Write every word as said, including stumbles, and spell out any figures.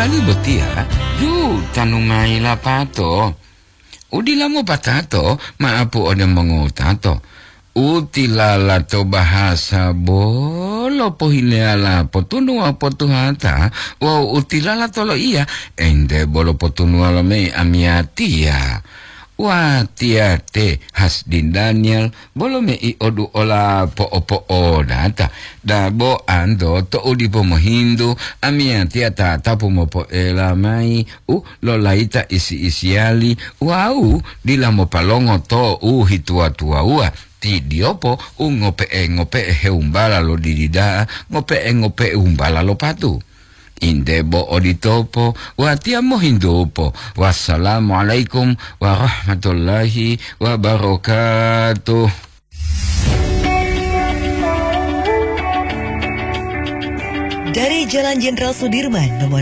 Botiya, ju tanu mayi lapato. Udila mopatato, maapu ode mongowutato. Utilala to bahasa bolo pohileyala potunuwa potuhata, wawu utilala to loiya, ente bolo potunuwa lo mayi amiyatiya. Watiya te Hasdin Daniel, bolo mei odu ola po'opo'odata. Dabo anto to'u dipo mohintu, amiyatiya tatapu mopoela mayi u lolayita isi-isiyali wawu dila mopalongo to u hituwa-tuwawuwa. Ti diyopo u ngope'e-ngope'e hewumbala lo didi da'a, ngope'e-ngope'e wumbala lo patu. Inde bo oditopo, watiya mohintupo. Wassalamualaikum warahmatullahi wabarakatuh. Dari Jalan Jenderal Sudirman, nomor